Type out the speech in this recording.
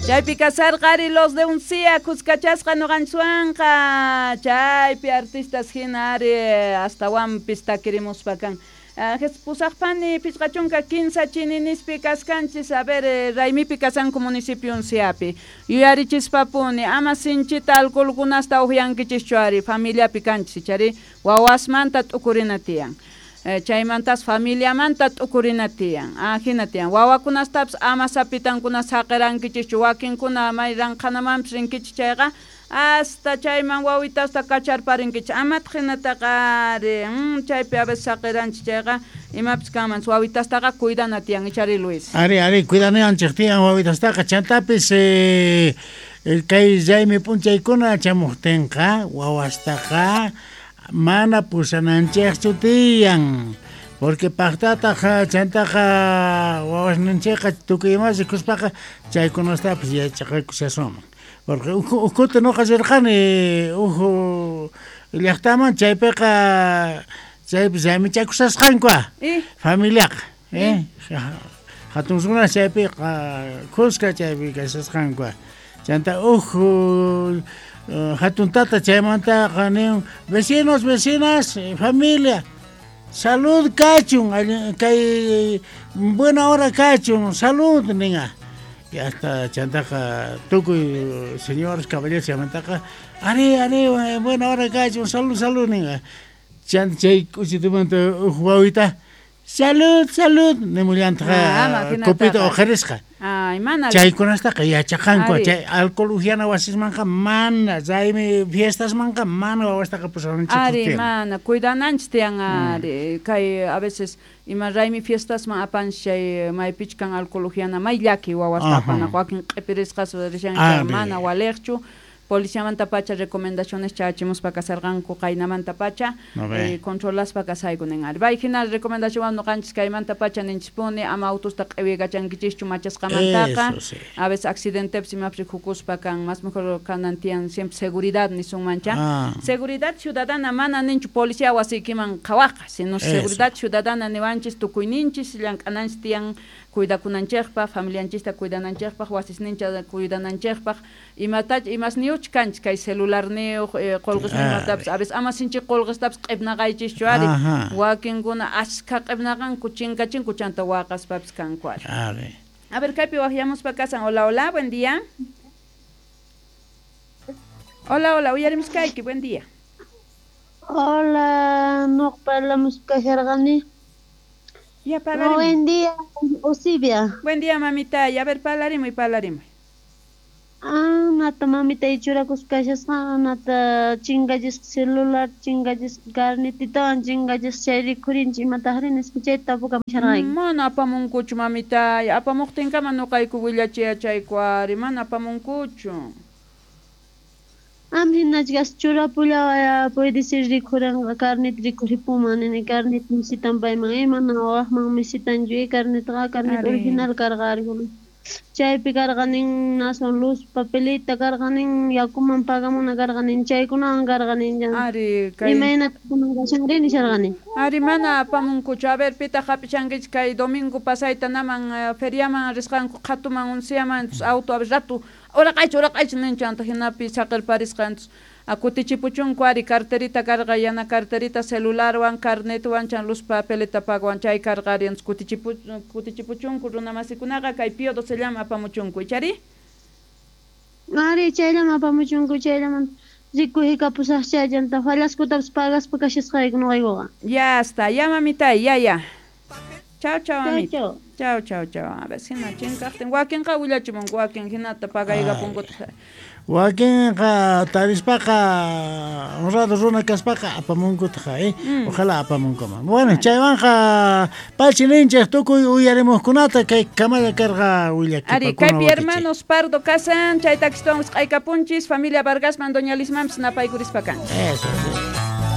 Chaypi kasarqa ari los de Uncia kuskachasqa ñuqanchikwanqa chaypi artistas hina ari astawanpis takirimuspa kan. Pusaqpani 53 chininispi kaskanchis, a ver, raymipi kasanku municipio Unciapi. Yuyarichispapuni ama sinchita alcoholkunasta uqyankichischu ari familiapi kanchis ichari wawasmanta t'ukurina tiyan. Chaymantas familiamanta t'ukurina tiyan. Ajina tiyan. Wawakunastapis ama sapitankuna saqirankichikchu wakinkuna may ranqhanamanpis rinkichik chayqa hasta chayman wawitasta kacharparinkichik amataq hinataqa ari chaypi a veces saqiranchik chayqa imapis kanman wawitastaqa cuidana tiyan ichari Luis. Ari, ari, cuidanayanchik tiyan wawitastaqa chantapis kay raymi p'unchaykuna chamuqtinqa wawastaqa mana pusananchikchu tiyan porque paqtataq chantaqa wawasninchikqa tukuy ima rikuspaqa chaykunastapis yachaqakushasunman porque ukhuta nuqa rirqani uj llaqtaman chaypiqa chaypi raymichakushasqanku familiaqa hatun runa chaypiqa khuska chaypi kashasqanku chanta uj hatun tata chaymantaqa nin vecinos, vecinas, familia, salud kachun, kay buena hora kachun, salud ninqa. Y hasta chantaqa tukuy señores, caballeros chaymantaqa ari, ari, buena hora kachun, salud, salud ninqa. Chanta chay k'uchitumanta uj wawita salud, salud nimullantaq copita uqharisqa. Ay, mana Chaykunastaqa yachaqanku, chay alcohol uhyana wasismanqa mana, raymi fiestasmanqa mana wawastaqa pusananchik Ari, tiyan. mana, cuidananchik tiyan ari. Kay a veces ima raymi fiestasman apanchik chay maypichu kan alcohol uhyana may llaki wawasta apanaq wakin q'ipirisqas rishanchik mana waliqchu. Policiamanta pacha recomendaciones chachimuspa kasarqanku qaynamanta pacha controlaspa kasayku nin ari. Bay hina recomendación ñuqanchis kaymanta pacha ninchispuni ama autosta q'iwiykachankichischu machasqamantaqa. A veces accidentepis imapis rikukuspa kan más mejor kanan tiyan siempre seguridad nisunmancha. Seguridad ciudadana mana ninchu policía wasiykiman qhawaqqa, sino seguridad ciudadana niwanchis tukuyninchis llank'ananchis tiyan cuidakunanchikpaq, familianchista cuidananchikpaq, wasisnincha cuidananchikpaq, imatacha imasniyuch kanchik kay celularniyuq, qolqesninmatapis a veces ama sinchi qolqestapis q'ipnaqaychischu ari. Wakinkuna ashkha q'ipnaqanku chinkachinku chanta waqaspapis kanku ari. A ver, kaypi waqyamuspa kasan. Hola, hola, buen día. Hola, hola, uyarimuskayki, buen día. Hola, nuq parlamuspa kasharqani. Ya, parlarimuy. Buen día, Osibia. Buen día, mamita. A ver, parlarimuy, parlarimuy. Nata mamita churakuspa kashasqa, nata chinkachisqa celular, chinkachisqa carnetitawan, chinkachisqa chay rikhurinchik imataqri nispa chayta tapukamusharqayki. Mana apamunkuchu, mamita. Apamuqtinkama ñuqayku willachiyachayku ari, mana apamunkuchu. Am hinachkas churapullawa puede ser rikhuranqa carnet rikhuripuman nini carnet misitan payman mana waqman misitanchu carnetqa carnet original karqa ari. Chaypi karqanin aswan luz papelita karqanin yakuman pagamuna karqanin chaykunawan karqanin Ari kay imaynata kunan kashanri nisharqani. Ari mana apamunkuchu. A ver, pitaq hap'ishankichik kay domingo pasayta naman feriaman risqanku qhatuman unciaman auto a ver rato uraqaychi uraqaychi ninchik anta hinapi saqirparisqa entonces kutichipuchunku ari carterita karqa yana carterita celularwan carnetwan chan luz papelita pagwan chay karqa ari entonces kutichipuchunku runamasikunaqa kay Pío XII apamuchunku ichari. Ari chayllaman apamuchunku chayllaman rikuyhikapusaqcha chanta fallaskutapis pagaspa kashasqayku ñuqaykuqa. Ya está, ya mamita, ya ya. Chao, chao, mamita. Chao, chao, chao. A ver, hina chinkaqtin wakinqa willachimunku wakin hinata pagaykapunkutaq. Wakinqa tarispaqa honrado runa kaspaqa apamunkutaq, ojalá apamunkuman. Bueno, chaywanqa pachi ninchik tukuy uyarimuqkunata kay kamalla karqa willakipakuna. Ari, kaypi hermanos Pardo kasan, chay takistuwan wisq'aykapunchis, familia Vargasman, doña Lismanpis napaykurispa kanchis. Eso, sí.